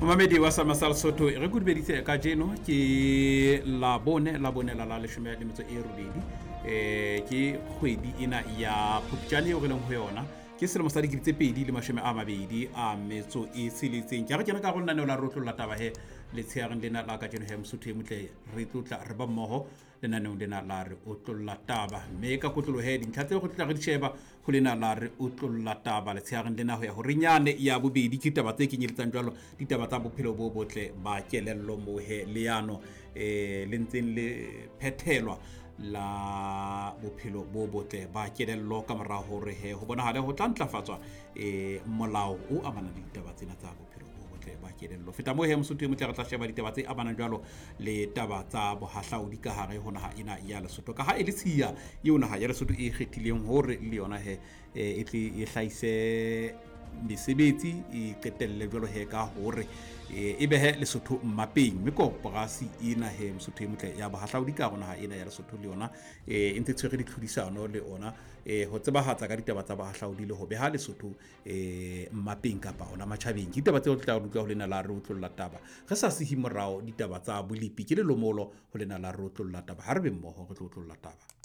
Momamedi wa Sama sa Lesotho, re kudubeditse kajeno ke labone, labone la la leshome le metso e robedi, ke kgwedi ena ya Phupjane eo re leng ho yona, ke selemo sa 2026. Ke a re kena ka go lenaneo la re otlolla taba he letsheareng lena la kajeno he Mosotho e motle, re tlotla re ba mmoho lenaneong lena la re otlolla taba. Mme ka kotloloho he dintlha tseo re tla re di sheba ho lena la re otlolla taba letsheareng lena ho ya ho renyane ya bobedi ke ditaba tse kenyeletsang jwalo ditaba tsa bophelo bo botle ba kelello moo he leano le ntseng le phethelwa la bophelo bo botle ba kelello ka mora hore he ho bonahale ho tla ntlafatswa molao o amanang le ditaba tsena tsa bophelo bo botle ba kelello. Feta moo he Mosotho e motle, re tla sheba ditaba tse amanang jwalo le taba tsa bohahlaodi ka hare ho naha ena ya Lesotho, ka ha e le tshiya eo naha ya Lesotho e kgethileng hore le yona he e tle e hlahise mesebetsi, e qetelle jwalo he ka hore e behe Lesotho mmapeng. Mme koporasi ena he Mosotho e motle ya bohahlaodi ka hare ho naha ena ya Lesotho le yona e ntse tshwere ditlhodisano le ona ho tsebahatsa ka ditaba tsa bohahlaodi le ho beha Lesotho mmapeng kapa ona matjhabeng. Ke ditaba tseo re tla utlwa ho lena la re otlolla taba, re sa sihi morao ditaba tsa bolepi ke lelomolo ho lena la re otlolla taba. Ha re be mmoho re tlo otlolla taba.